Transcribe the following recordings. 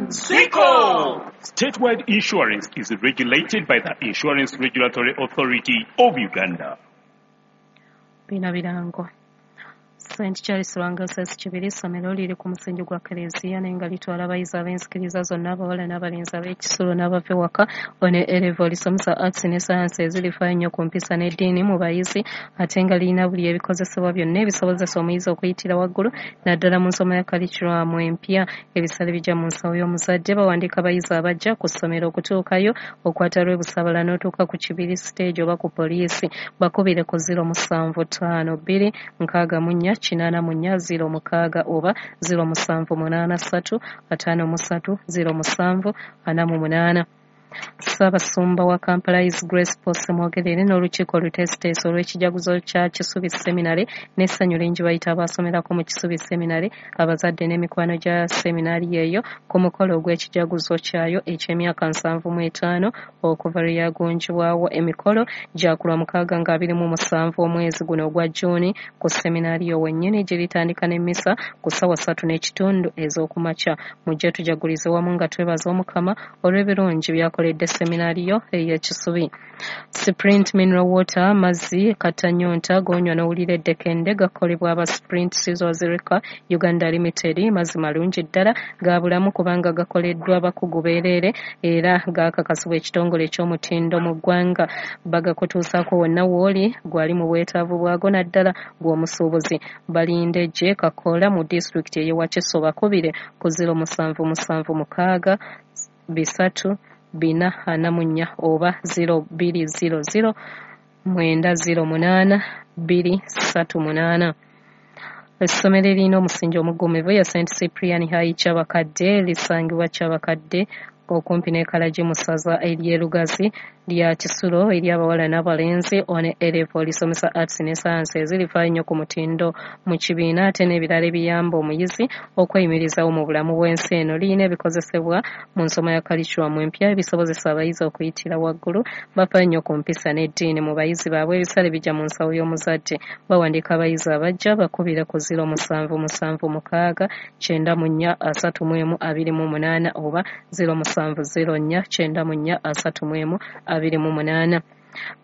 Nsiko! Statewide insurance is regulated by the Insurance Regulatory Authority of Uganda. Bino birango. St. Charles Lwanga SS Kibiri essomero liri ku musingi gwa Keleziya naye nga litwala abayizi ab'enzikiriza zonna, abawala n'abalenzi, ab'ekisulo n'abava ewaka. Ono A-level lisomesa arts ne science ezirifaayo ennyo ku mpisa n'eddiini mu bayizi, ate nga lirina buli ebikozesebwa byonna ebisobozesa omuyizi okuyitira waggulu naddala mu nsoma ya curriculum empya. Ebisale bijja mu nsawo y'omuzadde. Bawandiika abayizi abajja ku ssomero. Okutuukayo okwata lw'e Busabala n'otuuka ku Kibiri stage oba ku poliisi. Bakubire ku 0752 64 84 06 oba 0783 53 07 48. Ssaabasumba wa Kampala His Grace Paul Ssemwogerere n'olukiiko oluteesiteesi olw'ekijaguzo kya Kisubi Seminary n'essanyu lingi bayita abaasomerako mu Kisubi Seminary, abazadde n'emikwano gya seminari eyo ku mukolo ogw'ekijaguzo kyayo eky'emyaka 75 okuva lwe yagunjibwawo. Emikolo gya ku Lwamukaaga nga 27 omwezi guno ogwa June ku seminaariyo wennyini, giritandika n'emmisa ku ssaawa 3:30 ez'okumakya. Mujje tujagulize wamu nga twebaza Omukama olw'ebirungi by'akoledde seminaariyo ey'e Kisubi. Sprint Mineral Water, mazzi katanyonta g'onywa n'owulira eddekende, gakolebwa aba Sprint Scissors Liquor Uganda Limited. Mazzi malungi ddala ga bulamu kubanga gakoleddwa bakugu beereere era gakakasibwa ekitongole eky'omutindo mu ggwanga. Bagakutuusaako wonna w'oli gwali mu bwetaavu bwago, naddala gw'omusuubuzi. Balinde gye Kakola mu disitulikiti ey'e Wakiso. Bakubire ku 0776 3 444 oba 0200 908 238. Essomero eririna omusingi omuggumivu ya St. Cyprian High Kyabakadde lisangibwa Kyabakadde okumpi ne Kalagi mu ssaza ery'e Lugazi, lya kisulo eri abawala n'abalenzi. One A-level lisomesa arts ne science ezirifaayo nnyo ku mutindo mu kibiina ate n'ebirala ebiyamba omuyizi okweyimirizawo mu bulamu bw'ensi eno. Lirina ebikozesebwa mu nsoma ya curriculum empya ebisobozesa abayizi okuyitira waggulu. Bafaayo nnyo ku mpisa n'eddiini mu bayizi baabwe. Ebisale bijja mu nsawo y'omuzadde. Bawandiika abayizi abajja. Bakubire ku 0776 94 31 28 oba 0704 94 31 28.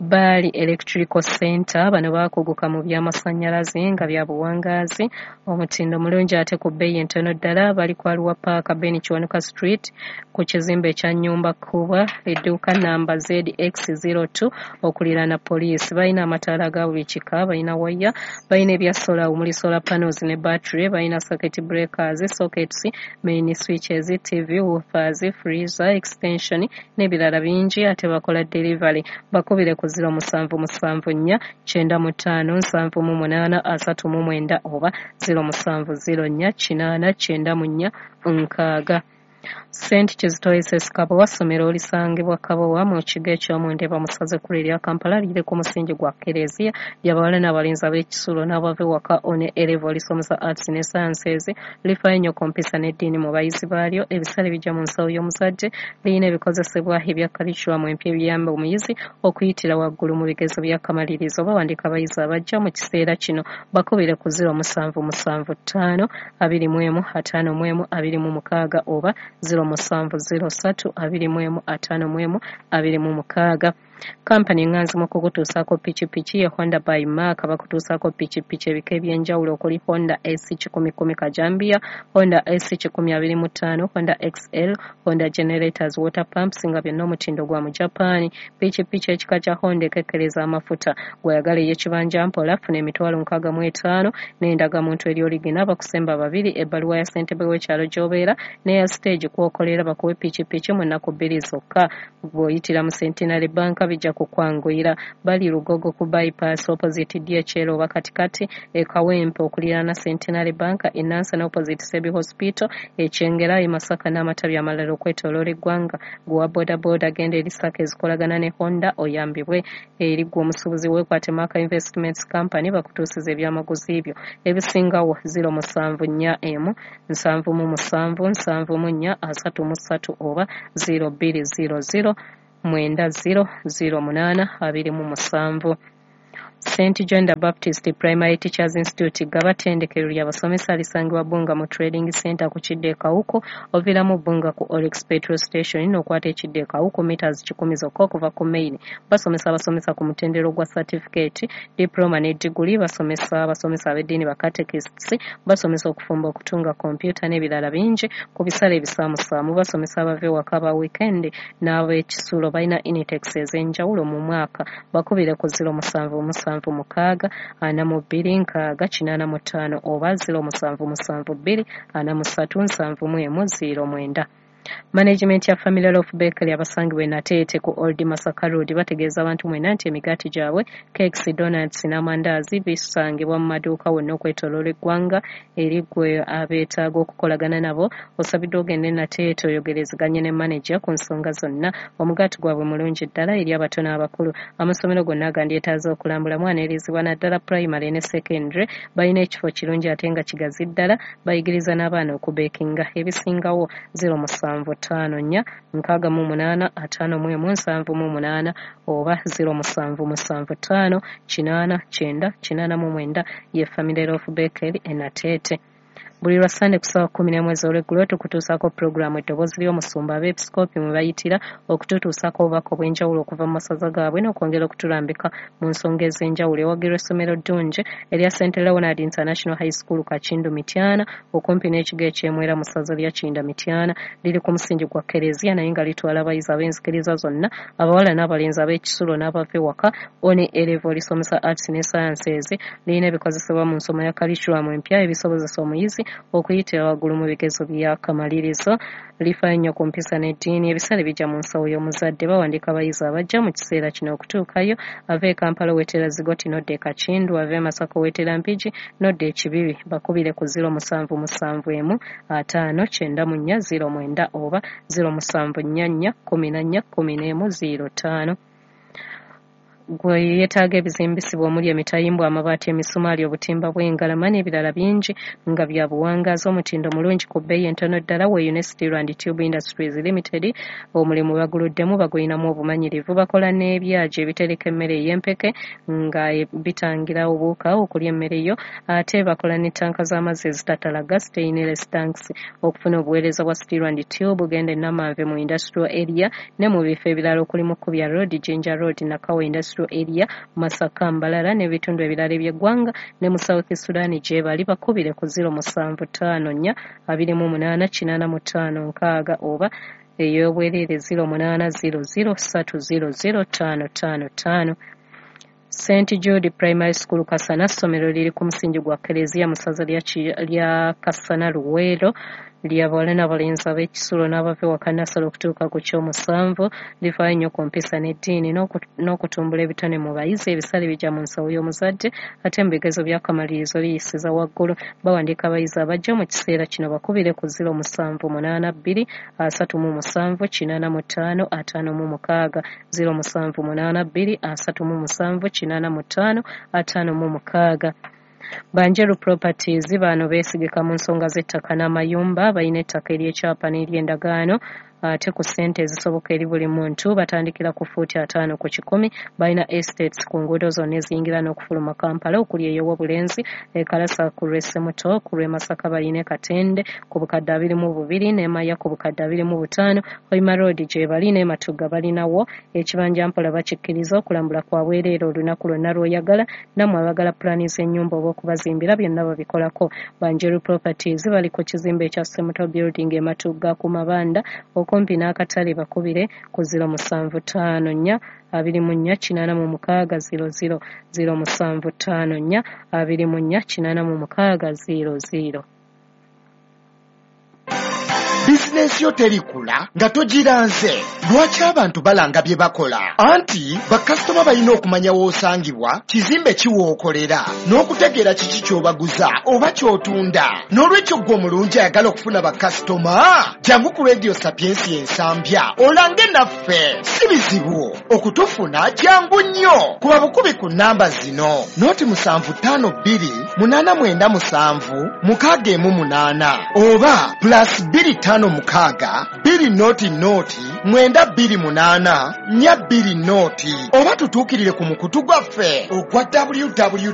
Baali Electrical Center, bano baakuguka mu by'amasannyalaze nga bya buwangaazi, omutindo mulungi ate ku bbeeyi entono ddala. Bali ku Arua Park, Ben Kiwanuka Street, ku kizimbe ekya Nyumba Kubwa, edduuka namba ZX02 okuliraana poliisi. Balina amataala aga buli kika, balina waya, balina ebya sola omuli solar panels ne battery, balina circuit breakers, sockets, main switches, TV, woofers, freezer, extension n'ebirala bingi, ate bakola delivery. Bakubire ku 0774 95 78 39 oba 0704 80 94 60. St. Kizito SS Kabowa ssomero lisangibwa Kabowa mu kigo eky'omu Ndeeba mu ssaza ekkulu erya Kampala. Liri ku musingi gwa Kkereziya, ly'abawala n'abalenzi, ab'ekisulo n'abava ewaka. One A-level lisomesa arts ne sciences, lifaayo nnyo ku mpisa n'eddiini mu bayizi baalyo. Ebisale bijja mu nsawo y'omuzadde. Lirina ebikozesebwa ebya curriculum empya ebiyamba omuyizi okuyitira waggulu mu bigezo by'akamalirizo. Bawandiika abayizi abajja mu kiseera kino. Bakubire ku 0775 21 51 26 oba 0703 21 51 26. Kampani eŋŋanzi mu kukutuusaako pikipiki ye Honda by Mark. Bakutuusaako pikipiki ebika eby'enjawulo okuli Honda S 110 Kajambiya, Honda S 125, Honda XL, Honda generators, water pumps, nga byonna omutindo gwa mu Japan. Pikipiki ekika kya Honda ekekkereza amafuta. Gw'oyagala ey'ekibanja mpola, funa 65,000 n'endagamuntu eri original, bakusemba babiri, ebbaluwa ya ssentebe w'ekyalo gy'obeera n'eya stage kw'okolera, bakuwe pikipiki mu nnaku 2 zokka. Bw'oyitira mu Centenary Bank bijja kukwanguyira. Bali Lugogo ku bypass opposite DHL oba katikati e Kawempe okuliraana Centenary Bank, e Nansana opposite Sebi Hospital, e Kyengera, e Masaka n'amatabi amalala okwetooloola eggwanga. Gwe wa bodaboda, genda eri SACCO ezikolagana ne Honda oyambibwe. Eri ggwe omusuubuzi, weekwate Mark Investments Company bakutuusiza ebyamaguzi byo. Ebisingawo 0741 77 74 33 oba 0200 90 08 27. St John the Baptist Primary Teachers Institute Gaba ttendekero ly'abasomesa lisangibwa Bbunga mu Trading Center ku kidda e Kawuku, oviiramu Bbunga ku Oryx Petrol Station n'okwata ekidda e Kawuku meters 100 zokka okuva ku main. Basomesa abasomesa ku mutendera gwa certificate, diploma ne diguli, basomesa abasomesa ab'eddiini ba catechists, basomesa okufumba, okutunga kompyuta n'ebirala bingi ku bisale ebisaamusaamu. Basomesa abava ewaka aba weekend n'ab'ekisulo. Balina intakes ez'enjawulo mu mwaka. Bakubire ku 0776 42 60 85 oba 0772 43 71 09. Management ya Family Loaf Bakery abasangibwa e Nateete ku Old Masaka Road bategeeza abantu mwenna nti emigaati gyabwe, cakes, donuts n'amandaazi bisangibwa mu maduuka wonna okwetooloola eggwanga. Eri ggwe abeetaaga okukolagana nabo, osabiddwa ogende e Nateete oyogerezeganye ne maneja ku nsonga zonna. Omugaati gwabwe mulungi ddala eri abato n'abakulu. Amasomero gonna agandyetaaze okulambulamu aneerizibwa naddala pulayimale ne secondary. Balina ekifo kirungi ate nga kigazi ddala, bayigiriza n'abaana okubeekinga. Ebisingawo 07 54 68 51 78 oba 0775 8 9 89 ye Family Loaf Bakery e Nateete. Buli lwa Ssande ku ssaawa 11 ez'olweggulo tukutuusaako pulogulaamu Eddoboozi ly'Omusumba abeepisikoopi mwe bayitira okututuusaako obubaka obw'enjawulo okuva mu masaza gaabwe n'okwongera okutulambika mu nsonga ez'enjawulo. Ewagirwa essomero ddungi erya St Leonard International High School Kakindu Mityana okumpi n'ekigo eky'Emwera mu ssaza lya Kinda Mityana. Liri ku musingi gwa Kkereziya naye nga litwala abayizi ab'enzikiriza zonna, abawala n'abalenzi, ab'ekisulo n'abava ewaka. One A level lisomesa Arts ne Sciences. Lirina ebikozesebwa mu nsoma ya curriculum empya ebisobozesa omuyizi okuyitira waggulu mu bigezo by'akamalirizo. Lifaayo nnyo ku mpisa n'eddiini. Ebisale bijja mu nsawo y'omuzadde. Bawandiika abayizi abajja mu kiseera kino okutuukayo. Ava e Kampala owetera Zigoti n'odda e Kakindu, ava e Masaka owetera Mpigi n'odda e Kibibi. Bakubire ku 0771 50 94 09 oba 0744 14 11 05. Gwe yeetaaga ebizimbisibwa omuli emitayimbwa, amabaati, emisumaali, obutimba bw'engalama n'ebirala bingi nga bya buwangaazi, omutindo mulungi ku bbeeyi entono ddala, weeyune Steel and Tube Industries Limited. Omulimu baguluddemu, bagulinamu obumanyirivu. Bakola n'ebyagi ebitereka emmere ey'empeke nga bitangira obuwuka okulya emmere yo, ate bakola ne ttanka z'amazzi ezitatalaga, stainless tanks. Okufuna obuweereza bwa Steel and Tube genda e Namanve mu Industrial Area ne mu bifo ebirala okuli Mukubya Road, Jinja Road, Nakawa Industrial Area, Masaka, Mbarara n'ebitundu ebirala eby'eggwanga ne mu South Sudan gye bali. Bakubire ku 0754 28 85 60 oba ey'obwereere 0800 300 555. St Jude Primary School Kasana ssomero liri ku musingi gwa Kkereziya mu ssaza lya Kasana Luweero, ly'abawala n'abalenzi ab'ekisulo n'abava ewaka nasala okutuuka ku ky'omusanvu. Lifaayo nnyo ku mpisa n'eddiini n'okutumbula ebitone mu bayizi. Ebisale bijja mu nsawo y'omuzadde ate mu bigezo by'akamalirizo liyisiza waggulu. Bawandiika abayizi abajja mu kiseera kino. Bakubire ku 0782 37 85 56, 0782 37 85 56. Banjeru Properties bano beesigika mu nsonga z'ettaka n'amayumba. Balina ettaka ery'ekyapa n'ery'endagaano ate ku ssente ezisoboka eri buli muntu. Batandikira ku fuuti 50 ku 100. Balina estates ku nguudo zonna eziyingira n'okufuluma Kampala okuli ey'Owobulenzi, e Kalasa ku lw'e Ssemuto, ku lw'e Masaka balina e Katende ku bukadde 22 ne Maya ku bukadde 25. Hoima Road gye bali ne Matugga balinawo ekibanja mpola bakikkiriza. Okulambula kwa bwereere olunaku lwonna lw'oyagala. Nammwe abaagala pulaani z'ennyumba oba okubazimbira byonna babikolako. Banjeru Properties bali ku kizimbe ekya Ssemuto Building e Matugga ku Mabanda okumpi n'akatale. Bakubire ku 0754 24 86 00, 0754 24 86 00. Bizinensi yo terikula nga togiranze. Lwaki abantu balanga bye bakola? Anti bakasitoma balina okumanya w'osangibwa, kizimbe ki w'okolera, n'okutegeera kiki ky'obaguza oba ky'otunda. N'olwekyo ggwe omulungi ayagala okufuna bakasitoma, jangu ku Radio Sapiensi Ensambya olange naffe. Si bizibu okutufuna, jangu nnyo. Kuba bukubi ku nnamba zino: 0752 897 618 oba +2 56 20 0 928 420 oba tutuukirire ku mukutu gwaffe ogwa www.